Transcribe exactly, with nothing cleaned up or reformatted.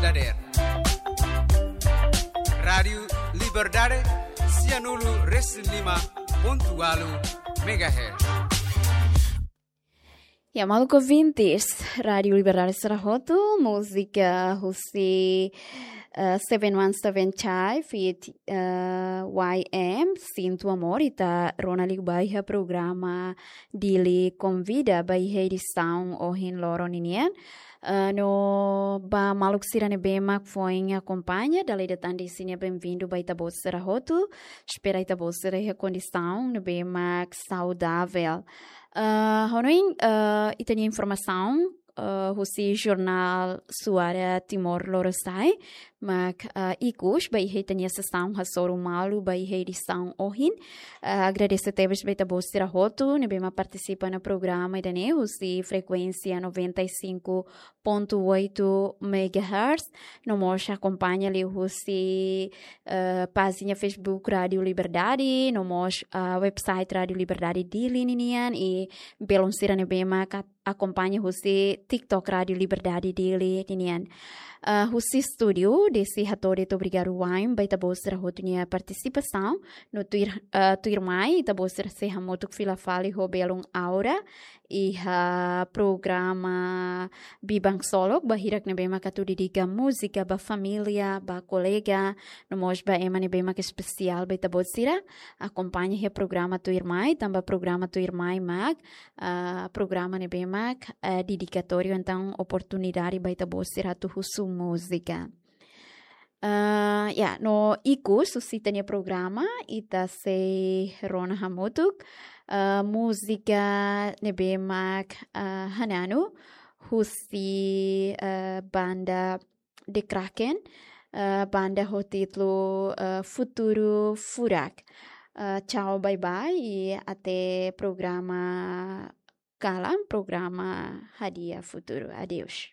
Dader. Rádiu Liberdade, sianulu resin lima pontu ualu megahertz. Ya, maluk ouvintes, Rádiu Liberdade sira hotu, múzika husi, eh, Seven One Seven Chai feat, eh, Y M, Sinto Amor, ita rona liu ba iha programa Dili Konvida ba iha edisaun ohin loron ninian. Eh, no ba maluk sira ne'ebé mak foin akompaña, dala ida tan dehan benvindu ba ita-boot sira hotu. Espera ita-boot sira iha kondisaun ne'ebé mak saudavel. Eh, hanoin, eh, ita-nia informasaun, eh, husi jornál Suara Timor Lorosa'e, mak, eh, ikus ba iha ita-nia sesaun hasoru malu ba iha edisaun ohin. Eh, agradese tebes ba ita-boot sira hotu ne'ebé mak partisipa ona programa ida-ne'e husi frekuénsia noventa e cinco ponto oito megahertz. No mós akompaña liu husi, eh, pájina Facebook Rádiu Liberdade, no mós, ah, website Rádiu Liberdade Dili ninian, i belun sira ne'ebé mak akompaña husi TikTok Rádiu Liberdade Dili ninian. Ah, husi estúdiu, desde hato'o de'it obrigadu wa'in ba ita-boot sira hotu nia partisipasaun. No tuir, ah, tuirmai, ita-boot sira sei hamutuk fila fali ho belun Aura iha programa Biban Ksolok, ba hirak ne'ebé mak atu dedika múzika ba família, ba kolega, no mós ba ema ne'ebé mak espesiál ba ita-boot sira. Akompaña iha programa tuirmai, tanba programa tuirmai mak, ah, programa ne'ebé mak, ah, dedikatóriu, entaun oportunidade ba ita-boot sira atu husu múzika. Ah, ya, no ikus husi ita-nia programa, ita sei rona hamutuk, ah, múzika ne'ebé mak, ah, hananu husi, ah, banda The Kraken, ah, banda ho títulu, ah, Futuru Furak. Ah, tchau, bye bye, i até programa kalan, programa Hadi'a Futuru. Adeus.